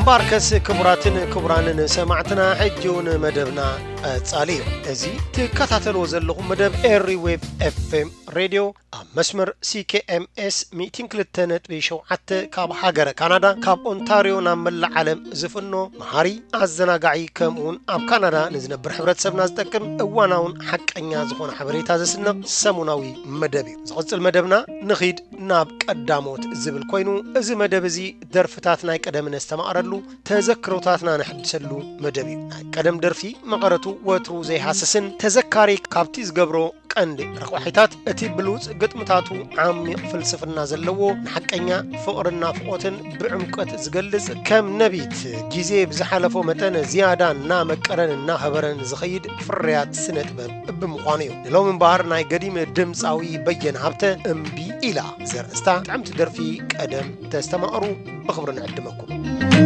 ባርከስ ክቡራትን ክቡራንን ሰማዕትና፣ ሕጂ እውን መደብና ቀጻሊ እዩ። እዚ ትከታተልዎ ዘለኹም መደብ ኤሪ ዌብ ኤፍ ኤም ሬድዮ ኣብ መስመር ሲ ኬ ኤም ኤስ ሚእትን ክልተ ነጥቢ ሸውዓተ ካብ ሃገረ ካናዳ፣ ካብ ኦንታርዮ ናብ መላእ ዓለም ዝፍኖ መሃሪ፣ ኣዘናጋዒ፣ ከምኡውን ኣብ ካናዳ ንዝነብር ሕብረተሰብና ዝጠቅም እዋናውን ሓቀኛ ዝኾነ ሓበሬታ ዘስንቕ ሰሙናዊ መደብ እዩ። ዝቕጽል መደብና ንኺድ ናብ ቀዳሞት ዝብል ኮይኑ፣ እዚ መደብ እዚ ደርፍታት ናይ ቀደም ነስተማቕረሉ፣ ተዘክሮታትና ነሐድሰሉ መደብ እዩ። ናይ ቀደም ደርፊ መቐረቱ ወትሩ ዘይሃስስን ተዘካሪ ካብቲ ዝገብሮ ቀንዲ ረቋሒታት፣ እቲ ብሉጽ ግጥምታቱ ዓሚቕ ፍልስፍና ዘለዎ፣ ንሓቀኛ ፍቕርን ናፍቖትን ብዕምቆት ዝገልጽ፣ ከም ነቢት ግዜ ብዝሓለፎ መጠን ዝያዳ እናመቀረን እናኸበረን ዝኸይድ ፍርያት ስነ ጥበብ ብምዃኑ እዩ። ንሎሚ እምበኣር ናይ ገዲም ድምጻዊ በየነ ሃብተ እምቢ ኢላ ዘርእስታ ጥዕምቲ ደርፊ ቀደም ተስተማቕሩ ብኽብሪ ንዕድመኩም።